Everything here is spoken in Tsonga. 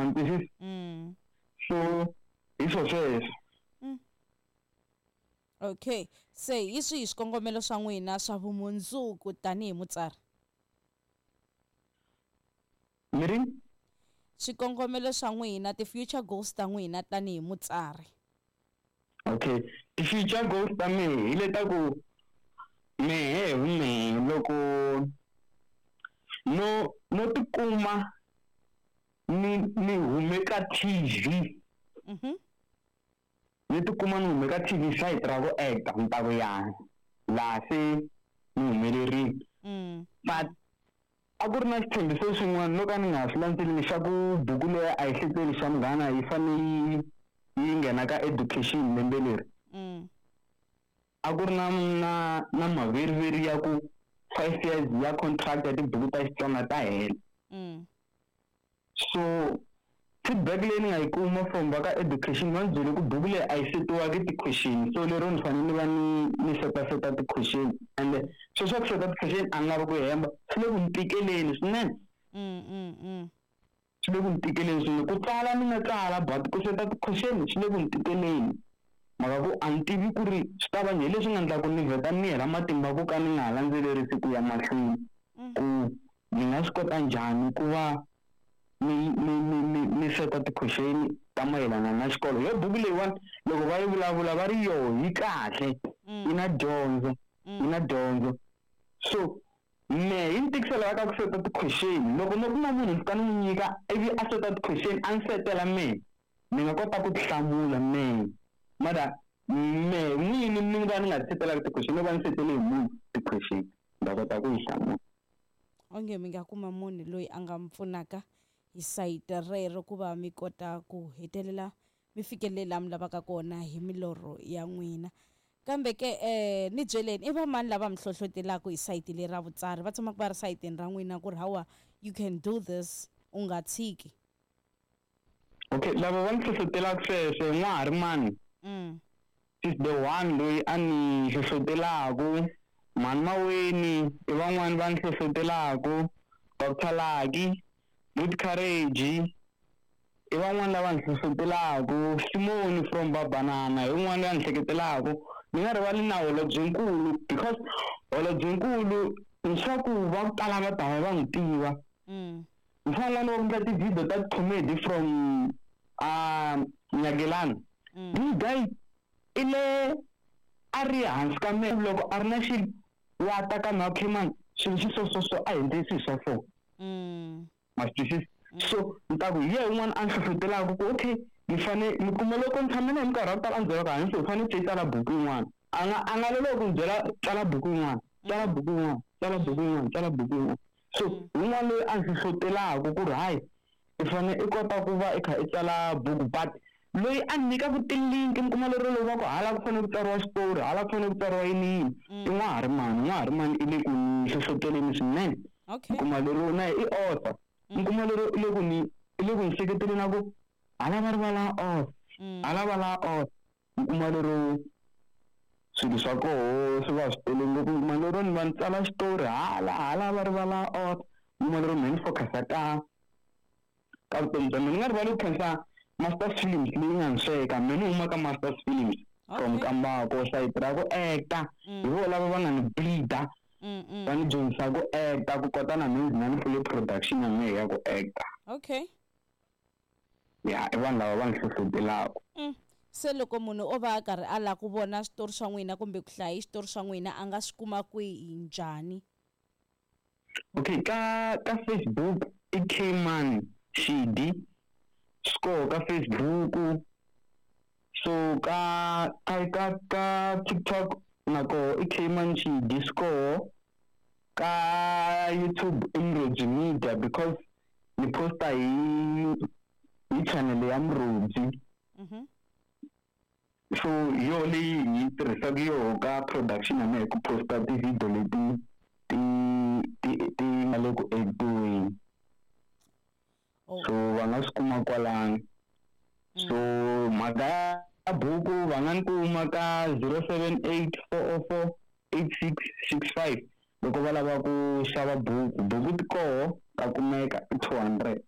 Ma ni twisisa? So hi swo sweswo. Okay, se hi swihi swikongomelo swa n'wina swa vumundzuku tanihi mutsari? Mi ri? Swikongomelo swa n'wina, ti-future goals ta n'wina tanihi mutsari. Okay, ti-future goals ta mehe hi leta ku mehe hi vumehe loko no tikuma ni hume ka TV. Ni tikuma ni hume ka TV site ra ku acta ni ta ku yana laha se ni humelerile. But a ku ri na xitshembiso xin'wana no ka ni nga swi landzeleli xa ku buku leyi a yi hleteli xa munghana yi fanele yi nghena ka education lembe leri. A ku ri na maveriveri ya ku 5 years ya contract ya tibuku ta Xitsonga ta hela. So feedback leyi ni nga yi kuma from va ka education va ni byele ku buku leyi a yi setiwaki ti-question, so lero ni fanele ni va ni setaseta ti-question, and sweswo swa ku seta ti-question a ni lavi ku hemba, swi le ku ni tikeleni swinene. Swi le ku ni tikeleni swinene. Ku tsala ni nga tsala, but ku seta ti-question swi le ku ni tikeleni. Mhaka ku a ni tivi ku ri swi ta va njhani, leswi nga endla ku ni vheta ni hela matimba ku ka ni nga ha landzelerisi ku ya mahlweni. Ku ni nga swi kota njhani ku va ni seta ti-question ta mayelana na xikolo. Yo buku leyiwani loko va yi vulavula va ri yo yi kahle, yi na dyondzo, yi na dyondzo. So mehe yi ni tikisela ka ku seta ti-question. Loko no kuma munhu ni fika ni n'wi nyika ivi a seta ti-question a ni setela mehe, ni nga kota ku ti hlamula mehe. Mara mehe n'wini ni va ni nga ti setelaka ti-question, no va ni setele hi munhu ti-question, ni ta kota ku yi hlamula. Onge mi nga kuma munhu loyi a nga mi pfunaka hi sayiti rero ku va mi kota ku hetelela mi fikelela laha mi lavaka kona hi milorho ya n'wina. Kambe ke ni byeleni, i va mani lava mi hlohlotelaka hi sayiti leri ra vutsari, va tshamaka va ri sayitini ra n'wina ku ri hawa you can do this, u nga tshiki? Okay, lava va ni hlohlotelaka sweswo i N'waharimani. Is the one loyi a ni hlohlotelaku, Mhani Maweni i van'wani va ni hlohlotelaku, Doctor Lucky, Good Courage i van'wani lava ni hlohlotelaku, Simoni from Babanana hi un'wana loyi a ni hleketelaku. Ni nga rivali na Holobyenkulu, because Holobyenkulu leswaku va ku tala va ta va va n'wi tiva. Mfana un'wana wa ku endla ti-video ta comedy from Nyakelana. This guy i le a ri hansi ka mehe loko a ri na xilo wa ta ka mehe, okay man, swilo swi so so so a hi endleni swilo swa so. Ma swi twisisa? So ni ta ku hi yena un'wana a ni hlohlotelaka ku okay, ni fane ni kuma loko ni tshame na yena minkarhi ya ku tala a ni byela ku hayi, u fanele u tsala buku yin'wana. A nga lolohi ku ni byela tsala buku yin'wana, tsala buku yin'wana, tsala buku yin'wana, tsala buku yin'wana. So un'wana loyi a ni hlohlotelaka ku ri hayi, i fane i kota ku va i kha i tsala buku, but loyi a ni nyikaka ti-link mi kuma lero loko va ku hala ku fanele ku tsariwa xitori, hala ku fanele ku tsariwa yini yini, i N'waharimani. N'waharimani i le ku ni hlohloteleni swinene. Mi kuma lero na i author. Mi kuma lero i le ku ni, i le ku ni seketeleni na ku hala va rivala author, hala va la author. Mi kuma lero swilo swa koho swi va swi tele ngopfu. Mi kuma lero ni va ni tsala xitori hala, hala va rivala author. Mi kuma lero mehe ni focus-a ka vutomi bya mina. Ni nga rivali ku khensa Masters Films leyi nga ni sweka. Mehe ni huma ka Masters Films from Kambako, sayiti ra ku acta. Hi vona lava va nga ni bleeder, va ni dyondzisa ku acta, ku kota na mina ndzi nga ni pfule production ya mehe ya ku acta. Ya, i vanhu lava va ni hlohlotelaka. Se loko munhu o va a karhi a lava ku vona switori swa n'wina kumbe ku hlaya xitori swa n'wina, a nga swi kuma kwihi, njhani? Okay, ka Facebook i Kman Xidi Score ka Facebook. So ka TikTok na koho i Kman Xidi Score. Ka YouTube i Murhodzi Media, because ni posta hi channel ya Murhodzi. So yo leyi hi tirhisaka yoho ka production ya mehe ku posta ti-video leti ti nga le ku ediweni. So va nga swi kuma kwalano. So mhaka ya buku va nga ni kuma ka 078 404 8665 loko va lava ku xava buku. Buku ti koho ta kumeka i 200.